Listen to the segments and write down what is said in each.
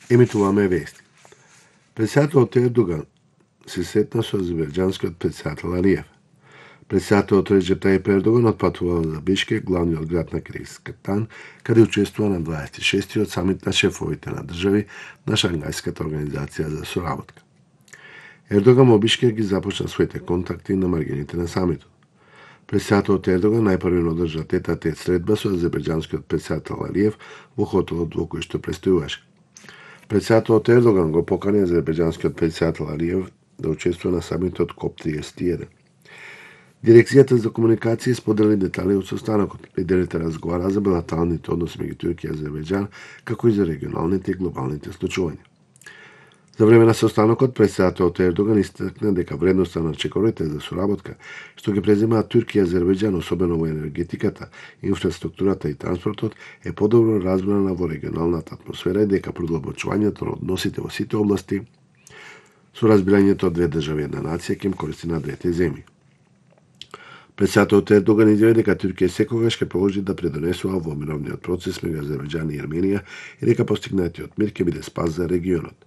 Емитуваме вести. Председателот Ердоган се сретна со азербејџанскиот председател Алиев. Председателот Реджеп Тајип Ердоган отпатувал за Бишкек, главниот град на Киргизстан, каде учествува на 26-тиот самит на шефовите на држави на Шангајската организација за соработка. Ердоган во Бишкек ги започна своите контакти на маргините на самитот. Председателот Ердоган најпрвен одржа тет-а-тет средба со азербејџанскиот председател Алиев во хотелот во кој што престојуваше. Председателот Ердоган го покани азербејџанскиот председател Алиев да учествува на самитот КОП-31. Дирекцијата за комуникација сподели детали од состанокот. Лидерите разговараа за билатералните односи меѓу Турција и Азербејџан, како и за регионалните и глобалните случувања. За време на состанокот, председателот Ердоган истакна дека вредноста на чекорите за соработка, што ги преземаат Турција и Азербејџан, особено во енергетиката, инфраструктурата и транспортот, е подобро разбрана во регионалната атмосфера и дека продлабочувањето на односите во сите области со разбирањето од две држави една нација ќе им користи на двете земји. Председателот Ердоган изјави дека Турција секогаш ќе продолжи да придонесува во мировниот процес меѓу Азербејџан и Ерменија и дека постигнатиот мир ќе биде спас за регионот.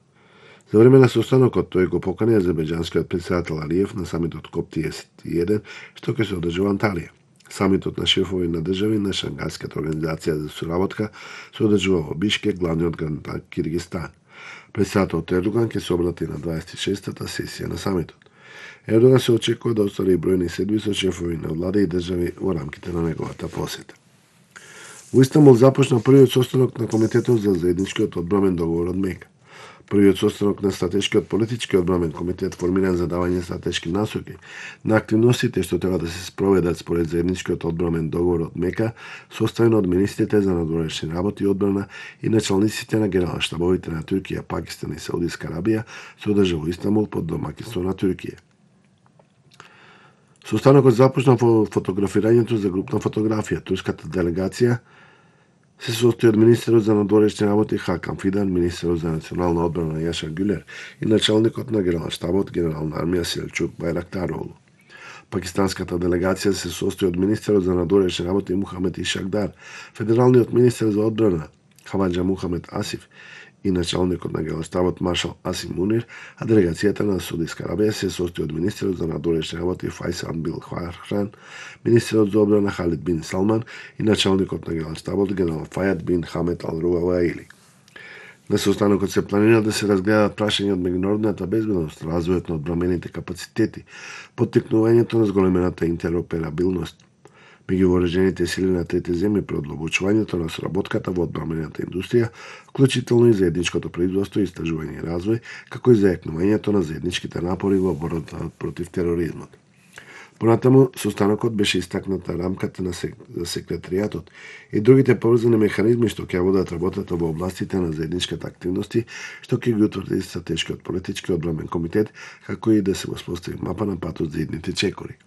За време на состанокот тој го покани азербејџанскиот председател Алиев на самитот КОП-31, што ќе се одржи во Анталија. Самитот на шефови на држави на Шангајската организација за соработка се одржува во Бишкек, главниот град на Киргизстан. Председателот Ердоган ќе се обрати на 26-та сесија на самитот. Ердоган се очекува да оствари бројни седби со шефови на влада и држави во рамките на неговата посета. Во Истанбул започна првиот состанок на Комитетот за заедничкиот одбрамен договор од Мека. Првиот состанок на Стратешкиот политички одбрамен комитет, формиран за давање стратешки насоки на активностите што треба да се спроведат според заедничкиот одбрамен договор од Мека, составен од министрите за надворешни работи и одбрана и началниците на генерал-штабовите на Турција, Пакистан и Саудиска Арабија, се одржа во Истанбул под домаќинство на Турција. Состанокот започна во фотографирањето за групна фотографија. Турската делегација се состои од министерот за надворешни работи Хакан Фидан, министерот за национална одбрана Јаша Гюлер и началникот на генерал-штабот генерал на армија Селчук Байрактароглу. Пакистанската делегација се состои од министерот за надворешни работи Мухамед Ишакдар, федералниот министер за одбрана Хаваџа Мухамед Асиф и началникот на генерал-штабот маршал Асим Мунир, а делегацијата на Саудиска Арабија се состои од министерот за надворешни работи Фајсал Бил Фахран, министерот за одбрана Халид бин Салман и началникот на генерал-штабот генерал Фајад бин Хамед Ал Руаваили. На состанокот се планира да се разгледаат прашања од меѓународната безбедност, развојот на одбрамените капацитети, поттикнувањето на зголемената интероперабилност меѓу вооружените сили на трети земји, продлабочувањето на соработката во одбрамената индустрија, вклучително и заедничкото производство, истражување и развој, како и зајакнувањето на заедничките напори во борбата против тероризмот. Понатаму, состанокот беше истакната рамката за секретаријатот и другите поврзани механизми што ќе водат работата во областите на заедничката активности, што ќе ги утврди Стратешкиот политички одбрамен комитет, како и да се воспостави мапа на патот за идните чекори.